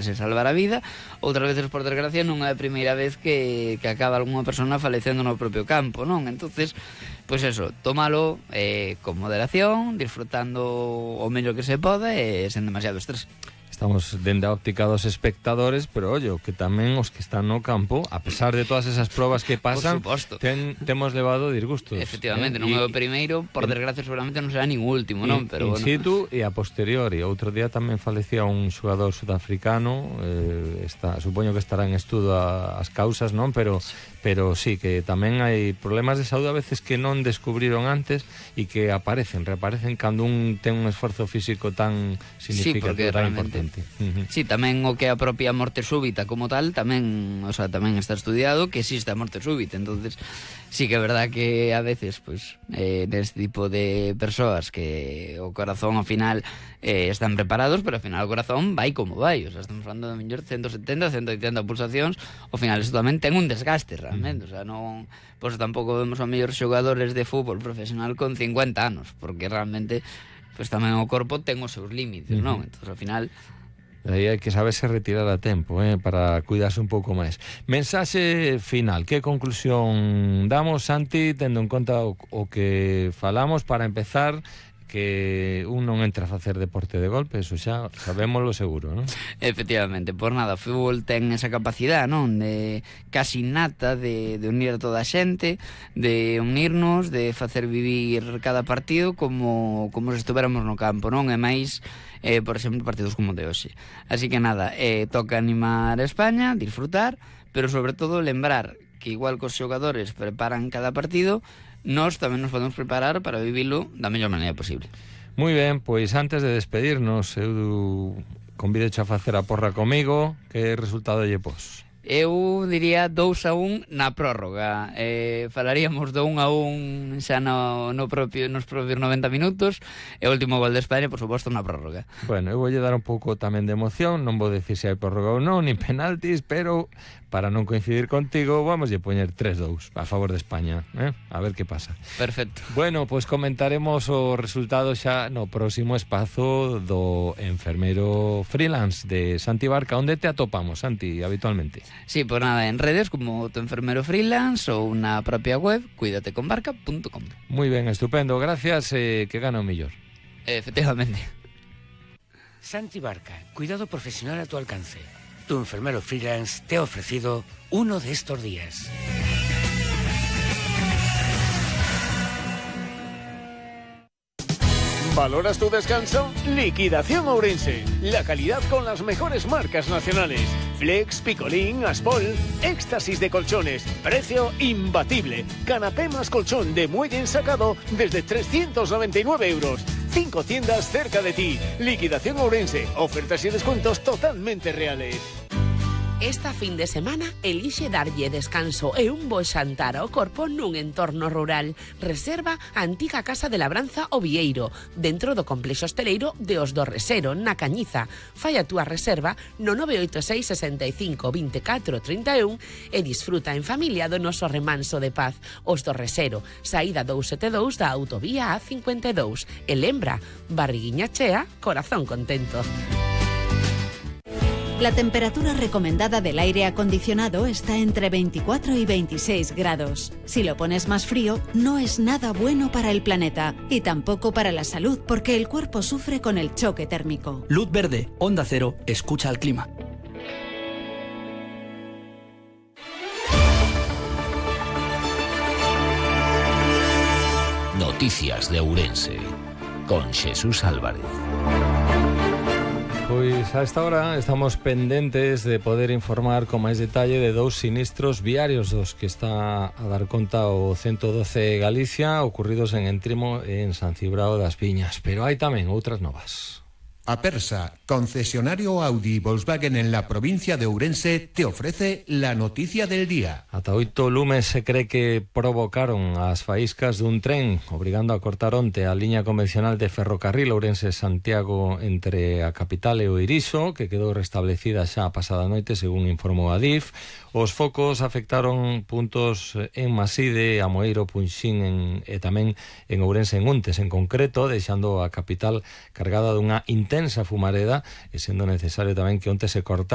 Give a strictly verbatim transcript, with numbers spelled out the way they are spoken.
se salvar a vida, outras veces por desgracia non é a primeira vez que, que acaba algunha persona falecendo no propio campo, non? Entonces, pois pues eso, tómalo eh, con moderación, disfrutando o mellor que se pode e sen demasiado estrés. Estamos dende a óptica dos espectadores, pero ollo, que tamén os que están no campo, a pesar de todas esas probas que pasan, ten, temos levado disgustos. Efectivamente, eh? non é o primeiro, por desgracia seguramente non será nin o último, non? Pero in bueno. situ e a posteriori. Outro día tamén falecía un xogador sudafricano, eh, está, supoño que estará en estudo a, as causas, non? Pero, pero sí, que tamén hai problemas de saúde a veces que non descubriron antes e que aparecen, reaparecen cando un ten un esforzo físico tan significativo, sí, tan importante. Uh-huh. Sí, tamén o que é a propia morte súbita como tal, tamén, o sea, tamén está estudiado que existe a morte súbita, entonces sí que é verdad que a veces, pois, pues, eh, neste tipo de persoas que o corazón ao final eh, están preparados, pero ao final o corazón vai como vai, o sea, estamos falando de mellor ciento setenta, ciento oitenta pulsacións, ao final isto tamén ten un desgaste realmente, uh-huh. O sea, non, pois pues, tampouco vemos a mellor xogadores de fútbol profesional con cincuenta anos, porque realmente pois pues, tamén o corpo ten os seus límites, uh-huh. Non? Entón, ao final aí hai que saberse retirar a tempo, eh, para cuidarse un pouco máis. Mensaxe final, que conclusión damos, Santi, tendo en conta o, o que falamos para empezar, que un non entra a facer deporte de golpe, eso xa sabémoslo seguro, non? Efectivamente, por nada, o fútbol ten esa capacidade, non? De casi innata de, de unir a toda a xente, de unirnos, de facer vivir cada partido como, como se estuveramos no campo, non? E máis, eh, por exemplo, partidos como de hoxe. Así que nada, eh, toca animar a España, disfrutar, pero sobre todo lembrar que igual que os xogadores preparan cada partido, nós tamén nos podemos preparar para vivilo da mellor maneira posible. Moi ben, pois antes de despedirnos, eu convido a facer a porra comigo. Que resultado lle pos? Eu diría dous a un na prórroga. Eh, falaríamos do un a un xa no, no propio, nos propios noventa minutos, e o último gol de España, por suposto, na prórroga. Bueno, eu voulle dar un pouco tamén de emoción, non vou decir se hai prórroga ou non, nin penaltis, pero para non coincidir contigo, vamos a poñer tres dous a favor de España, eh? A ver que pasa. Perfecto. Bueno, pois pues comentaremos o resultado xa no próximo espazo do enfermeiro freelance de Santi Barca. Onde te atopamos, Santi, habitualmente? Sí, pues nada, en redes como tu enfermero freelance ou na propia web cuídate con barca punto com. Muy ben, estupendo, gracias, eh, que gana o mellor. Efectivamente. Santi Barca, cuidado profesional a tu alcance. Tu enfermero freelance te ha ofrecido uno de estos días. ¿Valoras tu descanso? Liquidación Ourense. La calidad con las mejores marcas nacionales. Flex, Picolín, Aspol. Éxtasis de colchones. Precio imbatible. Canapé más colchón de muelle ensacado desde trescientos noventa y nueve euros. Cinco tiendas cerca de ti. Liquidación Ourense. Ofertas y descuentos totalmente reales. Esta fin de semana elixe darlle descanso e un bo xantar ao corpo nun entorno rural. Reserva a antiga Casa de Labranza O Vieiro, dentro do complexo hosteleiro de Os do Resero, na Cañiza. Fai a túa reserva no nove oito seis, sesenta e cinco, veinticuatro, treinta e un e disfruta en familia do noso remanso de paz. Os do Resero, saída dous setenta e dous da autovía A cincuenta e dous. E lembra, barriguiña chea, corazón contento. La temperatura recomendada del aire acondicionado está entre veinticuatro y veintiséis grados. Si lo pones más frío, no es nada bueno para el planeta y tampoco para la salud, porque el cuerpo sufre con el choque térmico. Luz verde, Onda Cero, escucha al clima. Noticias de Ourense, con Jesús Álvarez. Pois a esta hora estamos pendentes de poder informar con máis detalle de dous sinistros viarios dos que está a dar conta o ciento doce Galicia, ocurridos en Entrimo e en San Cibrao das Viñas, pero hai tamén outras novas. Apersa, concesionario Audi y Volkswagen en la provincia de Ourense, te ofrece la noticia del día. Ata oito lumes se cree que provocaron as faíscas dun tren, obrigando a cortar onte a liña convencional de ferrocarril Ourense-Santiago entre a capital e o Irixo, que quedou restablecida xa a pasada noite, según informou a D I F. Os focos afectaron puntos en Maside, Amoeiro, Punxín en, e tamén en Ourense en Untes, en concreto, deixando a capital cargada dunha intensa intensa fumareda, e sendo necesario tamén que onte se cortara